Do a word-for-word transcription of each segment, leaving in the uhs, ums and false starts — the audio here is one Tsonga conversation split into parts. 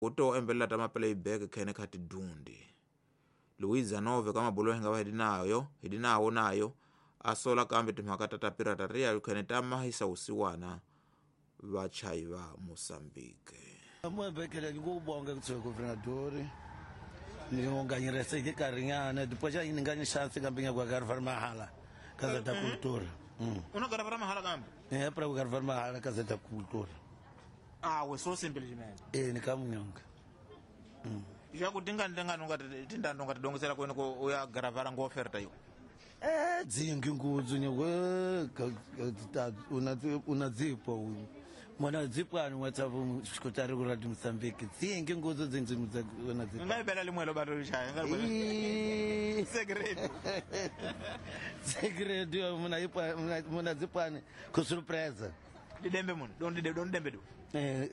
Kuto embelela ta ma-playback khene kha tidundi Luiza Nove ka mabulo hinga va hidinayo hidinawo nayo asola kambe timhaka ta ta pirataria khene ta mahisa usiwana vachayi va Mozambique. Mwebekele ngikubonga kuthiwe governadori ngingonganyirese karinyana depois já inganya chance kambe ngiyakwagarvar mahala Casa da Cultura. Una gravar mahala kambe? É para gravar mahala Casa da Cultura. Ah, we so simplesmente. Eh, nikamunyonga. Mm. Já kutinga ndinga nunga tinda nunga tidongesela kwena ko uya gravara ngo oferta yo. Eh, dzingi ngudzu nywe una una dzipo. Mwana dzipo ani WhatsApp xikotari ku Radio Mozambique. Dzingi ngudzu dzinzi una dzipo. Ngai bela limwelo bato lishaya ngai bela. Segredo. Segredo muna ipa muna dzipani ku surpresa. Didembe mun, don dide don dembe do. Eh,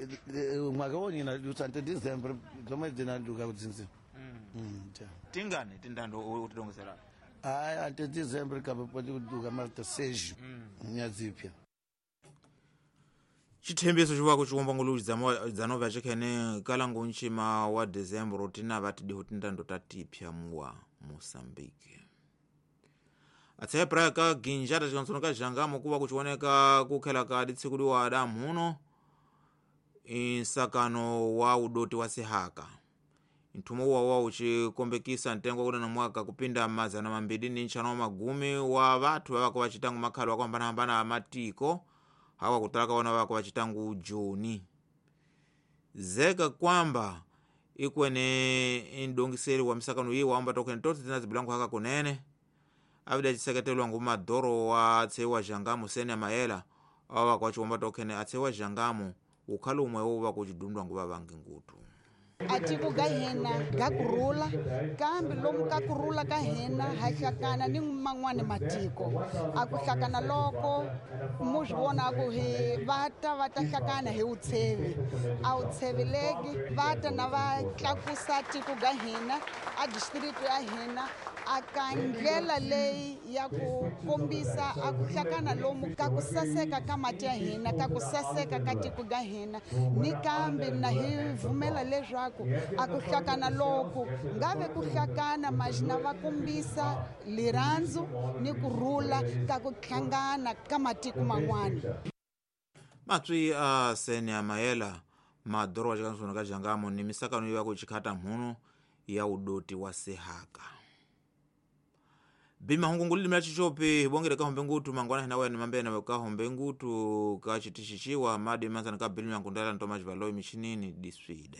mwaka woni na lusante December zomwe dzinanduka kudzinzi. Mm. Tingani tindando utidongesela. Ai, ante December kabe pode kuduka malta seis. Nyadzipya. Chithembiso chiwako chiwomba ngulu dzanova chikhene kalango nchima wa December tina vati diho tindando tatipya muwa Mozambique. Atse praia ka ginjata chikansono ka jangamo kuva kuchioneka kukhela ka ditsiku wa Adamu huno insakano wa udoti wa sihaka. Nthumo wa wa uchikombekisa ntengo kuna na mwaka kupinda mazana mambili ni nchano magumi wa vathu vavako vachitangu makhalo wakuhambanahambana matiko hawa kutalaka wana vako vachitangu Joni. Zeka kwamba ikwene indongiseri wa misakano iyi waamba tokhene totsi tinazibilangu haka kunene avida chiseketelwa ngu madoro wa tsewa jangamo sene mayela awa kwachiwomba tokhene atsewa jangamo ukhali umwe uva kuchidundwa ngu vavangi ngutu. Atiko ga hina ga kurula kambe lomu ka kurula ka hina ha hlakana ni man'wani matiko a ku hlakana loko mu swi vona ku hi va ta va ta hlakana hi wutshevi a wutsheveleki va ta na va tlakusa tiko ga hina a district ya hina a ka ndlela leyi ya ku kombisa a ku hlakana lomu ka ku saseka ka mati ya hina ka ku saseka ka tiko ga hina ni kambe na hi vumela leswaku a ku hlakana loku ngave ku hlakana majina va kombisa lirhandzu ni ku rhula ka ku hlangana ka matiko man'wana. Matswi a sene ya mayela madoro wa chikansono ka jangamo ni misakano ya ku chikhata mhuno ya udoti wa sihaka. Bima hungunguli limela chichopi bongere ka hombe ngutu mangwana hina wena mambena ka hombe ngutu ka chitishichiwa madi manzana ka bilimu yankundala ntomaji valoi michinini diswide.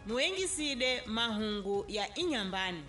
Muengiside mahungu ya inyambani.